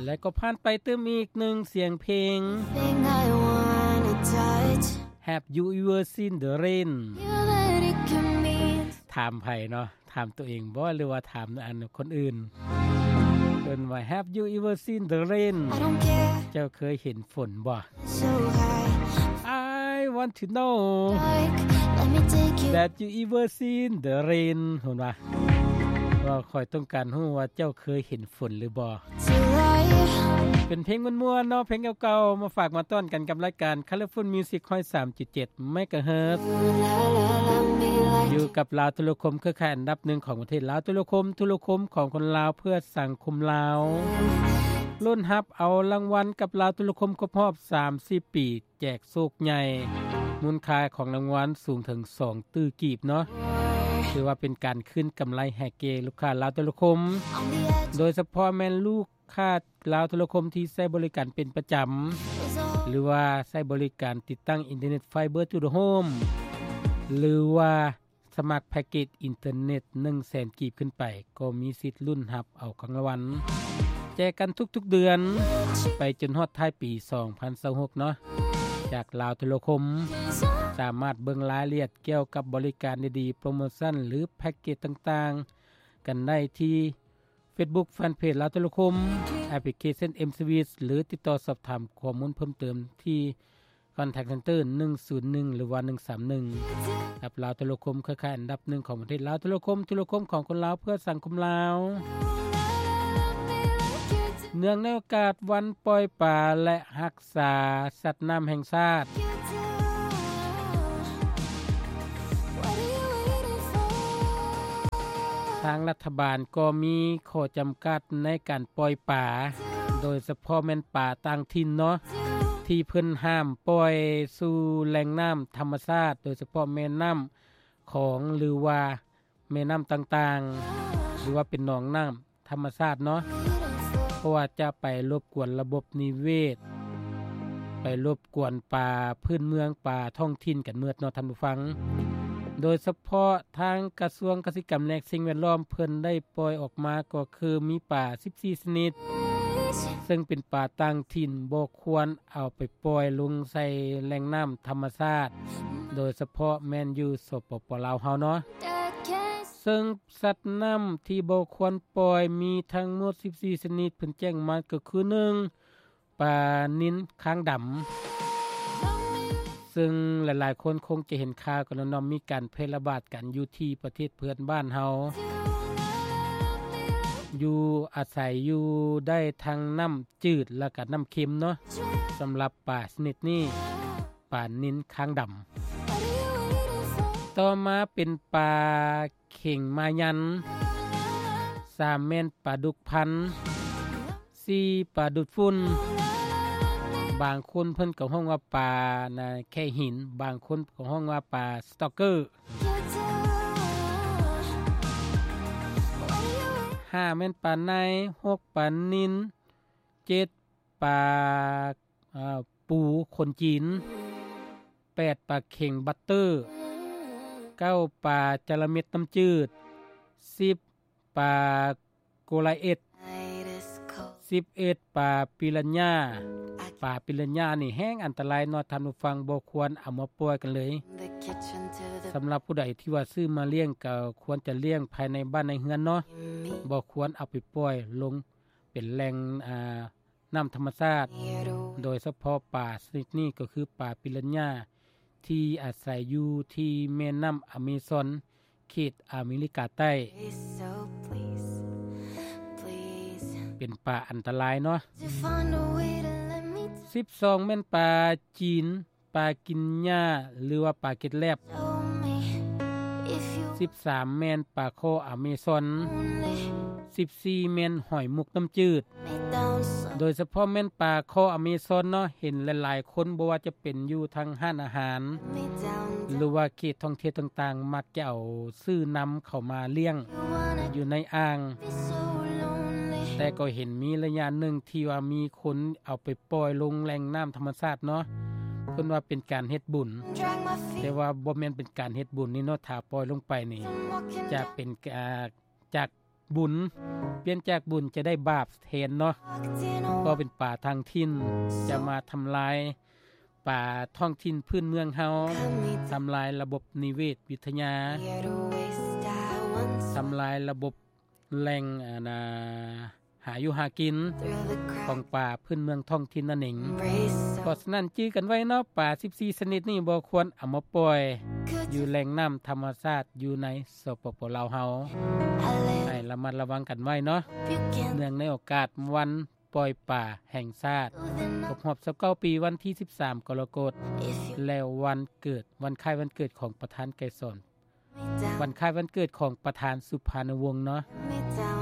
ແລະກໍຜ່ານໄປຕື່ມອີກໜຶ່ງສຽງເພງ Have you ever seen the rain? ຖາມໃຜເນາະ? ຖາມຕົວເອງບໍ່ ຫຼືວ່າຖາມອັນຄົນອື່ນ? ເອີ້ນວ່າ Have you ever seen the rain? ເຈົ້າເຄີຍເຫັນຝົນບໍ່? I want to know that you ever seen the rain ເພິ່ນວ່າ ວ່າຂ້ອຍຕ້ອງການຮູ້ວ່າເຈົ້າເຄີຍເຫັນຝົນຫຼືບໍ່. ເປັນເພງມ່ວນໆເນາະ ເພງເກົ່າໆ ມາຝາກມາຕ້ອນກັນກັບລາຍການ Colorful Music ຮ້ອຍສາມຈຸດເຈັດ ເມກາເຮີດ ຢູ່ກັບລາວໂທລະຄົມ ເຄືອຂ່າຍອັນດັບໜຶ່ງຂອງປະເທດ. ລາວໂທລະຄົມ ໂທລະຄົມຂອງຄົນລາວ ເພື່ອສັງຄົມລາວ ລຸ້ນຮັບເອົາລາງວັນກັບລາວໂທລະຄົມຄົບຮອບສາມສິບປີ ແຈກໂຊກໃຫຍ່ ມູນຄ່າຂອງລາງວັນສູງເຖິງສອງຕື້ກີບເນາະ. ຖືວ່າເປັນການຄືນກຳໄລໃຫ້ແກ່ລູກຄ້າລາວໂທລະຄົມ ໂດຍສະເພາະແມ່ນລູກຄ້າລາວໂທລະຄົມທີ່ໃຊ້ບໍລິການເປັນປະຈຳ ຫຼືວ່າໃຊ້ບໍລິການຕິດຕັ້ງອິນເຕີເນັດ Fiber to the Home ຫຼືວ່າ ສະໝັກແພັກເກດອິນເຕີເນັດໜຶ່ງແສນກີບຂຶ້ນໄປ ກໍມີສິດລຸ້ນຮັບເອົາຂອງລາງວັນ ແຈກກັນທຸກໆເດືອນ ໄປຈົນຮອດທ້າຍປີສອງພັນຊາວຫົກເນາະ ຈາກລາວໂທລະຄົມ. ສາມາດເບິ່ງລາຍລະອຽດກ່ຽວກັບບໍລິການດີໆ ໂປຣໂມຊັນ ຫຼື ແພັກເກດຕ່າງໆ ກັນໄດ້ທີ່ Facebook Fanpage ລາວໂທລະຄົມ Application M Service ຫຼື ຕິດຕໍ່ສອບຖາມຂໍ້ມູນເພີ່ມເຕີມທີ່ Contact Center ໜຶ່ງສູນໜຶ່ງ ຫຼືວ່າ ໜຶ່ງສາມໜຶ່ງ ກັບລາວໂທລະຄົມ ເຄືອຂ່າຍອັນດັບໜຶ່ງຂອງປະເທດ. ລາວໂທລະຄົມ ໂທລະຄົມຂອງຄົນລາວ ເພື່ອສັງຄົມລາວ ເນື່ອງໃນໂອກາດວັນປ່ອຍປາ ແລະ ຮັກສາສັດນ້ຳແຫ່ງຊາດ, ທາງລັດຖະບານກໍມີຂໍ້ຈຳກັດໃນການປ່ອຍປາ, ໂດຍສະເພາະແມ່ນປາຕ່າງຖິ່ນເນາະ ທີ່ເພິ່ນຫ້າມປ່ອຍສູ່ແຫຼ່ງນ້ຳທຳມະຊາດ, ໂດຍສະເພາະແມ່ນ້ຳຂອງ ຫຼືວ່າແມ່ນ້ຳຕ່າງໆ ຫຼືວ່າເປັນໜອງນ້ຳທຳມະຊາດເນາະ, ເພາະວ່າຈະໄປລົບກວນລະບົບນິເວດ, ໄປລົບກວນປາພື້ນເມືອງ, ປາທ້ອງຖິ່ນກັນໝົດເນາະທ່ານຜູ້ຟັງ. ໂດຍສະເພາະທາງກະຊວງກະສິກຳ ແລະ ສິ່ງແວດລ້ອມ ເພິ່ນໄດ້ປ່ອຍອອກມາກໍຄືມີປາສິບສີ່ຊະນິດ ເຊິ່ງເປັນປາຕ່າງຖິ່ນ ບໍ່ຄວນເອົາໄປປ່ອຍລົງໃສ່ແຫຼ່ງນ້ຳທຳມະຊາດ, ໂດຍສະເພາະແມ່ນຢູ່ ສປປ ລາວ ເຮົາເນາະ. ເຊິ່ງສັດນ້ຳທີ່ບໍ່ຄວນປ່ອຍມີທັງໝົດສິບສີ່ຊະນິດ ເພິ່ນແຈ້ງມາກໍຄື ໜຶ່ງ ປານິນຄາງດຳ ເຊິ່ງຫຼາຍໆຄົນຄົງຈະເຫັນຂ່າວກັນເນາະ ມີການແຜ່ລະບາດກັນຢູ່ທີ່ປະເທດເພື່ອນບ້ານເຮົາ ຢູ່ອາໄສຢູ່ໄດ້ທັງນ້ຳຈືດ ແລ້ວກະນ້ຳເຄັມເນາະ. ສຳລັບປາຊະນິດນີ້ ປານິນຄາງດຳ. ຕໍ່ມາເປັນປາເຂັງມາຍັນ, ສາມແມ່ນປາດຸກພັນ, ສີ່ປາດູດຝຸ່ນ, ບາງຄົນເພິ່ນກໍຮ້ອງວ່າປານະແຄຫີນ, ບາງຄົນກໍຮ້ອງວ່າປາສະຕອກເກີ, ຫ້າແມ່ນປາໄນ, ຫົກປານິນ, ເຈັດປາ ອາ ປູຂົນຈີນ, ແປດປາເຂັງບັດເຕີ, ເກົ້າປາຈະລະເມັດນ້ຳຈືດ, ສິບປາໂກລາເອັດ, ສິບເອັດປາປີລັນຍາ. ປາປີລັນຍານີ້ແຮງອັນຕະລາຍເນາະທ່ານຜູ້ຟັງ, ບໍ່ຄວນເອົາມາປ່ອຍກັນເລີຍ. ສຳລັບຜູ້ໃດທີ່ວ່າຊື້ມາລ້ຽງກໍຄວນຈະລ້ຽງພາຍໃນບ້ານໃນເຮືອນເນາະ, ບໍ່ຄວນເອົາໄປປ່ອຍລົງເປັນແຫຼ່ງ ອາ ນ້ຳທຳມະຊາດ, ໂດຍສະເພາະປາຊະນິດນີ້ກໍຄືປາປີລັນຍາ ທີ່ອາໄສຢູ່ທີ່ແມ່ນ້ຳອາເມຊອນ ເຂດອາເມລິກາໃຕ້. ເປັນປາອັນຕະລາຍເນາະ. ສິບສອງແມ່ນປາຈີນ, ປາກິນຫຍ້າ ຫຼືວ່າປາເກັດແລັບ. ສິບສາມແມ່ນປາຄໍ່ອາເມຊອນ. ສິບສີ່ແມ່ນຫອຍມຸກນ້ຳຈືດ. ໂດຍສະເພາະແມ່ນປາຄໍ່ອາເມຊອນເນາະ, ເຫັນຫຼາຍໆຄົນ ບໍ່ວ່າຈະເປັນຢູ່ທາງຮ້ານອາຫານ ຫຼືວ່າເຂດທ່ອງທ່ຽວຕ່າງໆ ມັກຈະເອົາຊື້ນ້ຳເຂົ້າມາລ້ຽງຢູ່ໃນອ່າງ, ແຕ່ກໍເຫັນມີໄລຍະໜຶ່ງທີ່ວ່າມີຄົນເອົາໄປປ່ອຍລົງແຫຼ່ງນ້ຳທຳມະຊາດເນາະ, ເພິ່ນວ່າເປັນການເຮັດບຸນ, ແຕ່ວ່າບໍ່ແມ່ນເປັນການເຮັດບຸນນີ້ເນາະ, ຖ້າປ່ອຍລົງໄປນີ້ຈະເປັນ ອາ ຈາກ ບຸນ ປ່ຽນຈາກບຸນຈະໄດ້ບາບແທນເນາະ ກໍເປັນປາຕ່າງຖິ່ນຈະມາທຳລາຍປາທ້ອງຖິ່ນພື້ນເມືອງເຮົາ ທຳລາຍລະບົບນິເວດວິທະຍາ ທຳລາຍລະບົບແຫຼ່ງ ອັນນ່າ ຫາຢູ່ຫາກິນຂອງປາພື້ນເມືອງທ້ອງຖິ່ນນັ້ນເອງ. ເພາະສະນັ້ນຈື່ກັນໄວ້ເນາະ ປາສິບສີ່ຊະນິດນີ້ບໍ່ຄວນເອົາມາປ່ອຍຢູ່ແຫຼ່ງນ້ຳທຳມະຊາດຢູ່ໃນ ສປປ ລາວເຮົາ ໃຫ້ລະມັດລະວັງກັນໄວ້ເນາະ ເນື່ອງໃນໂອກາດວັນປ່ອຍປາແຫ່ງຊາດ ຄົບຮອບຊາວເກົ້າປີ ວັນທີສິບສາມ ກໍລະກົດ ແລະ ວັນເກີດ ວັນຄ້າຍວັນເກີດຂອງປະທານໄກສອນ ວັນຄ້າຍວັນເກີດຂອງປະທານສຸພານຸວົງເນາະ.